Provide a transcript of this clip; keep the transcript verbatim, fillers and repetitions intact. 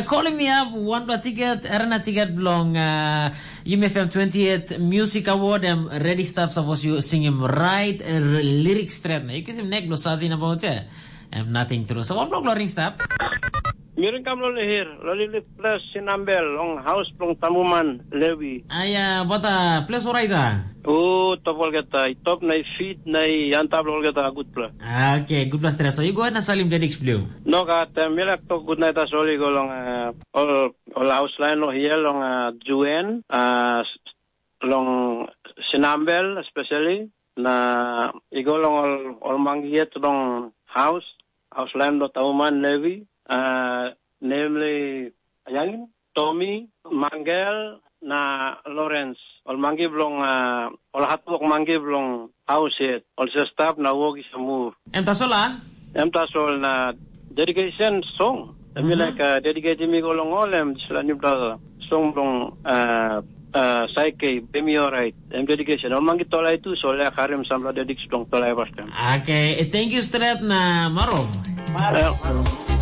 Kolim mi ap wanpela tiket, arena tiket bilong uh, Yumi F M twenty-eight Music Award, em ready stap, sapos yu singim right uh, lyric straight na yu kisim nek bilong sasin about ya. Em nothing true. So wanpela bilong ring stap. Miring kam lo lihir, lo lilip plus sinambel long haus bilong tambuman Levi. Aya, bata, ples oraita? O, top olgeta, i top na i fit na i antap lo olgeta gutpela. Okay, gutpela stret. So you go ahead na salim dediks blue. No gat, eh, mi lak tok gutnait tasol i go long eh, ol ol haus lain lo hia long eh, Juen, eh, long Sinambel especially, na i go long ol ol mangi yet long haus, haus lain lo Tauman Levi, eh, namely Yangin, Tomi, Mangel, na Lawrence. Ol mangi bilong uh, ol hatwok mangi bilong haus yet. Ol sa stap na wok i sa mur. Em tasol a? Em tasol na dedication song. Em mm -hmm. Like uh, dedicating mi go long ol em dispela newpela song bilong uh, uh, Saike, Bemi Alright. Em dedication. Ol mangi tolai tu so le karim sampela dediks bilong tolai pastem. Okay, eh, thank you stret na maro. Maro.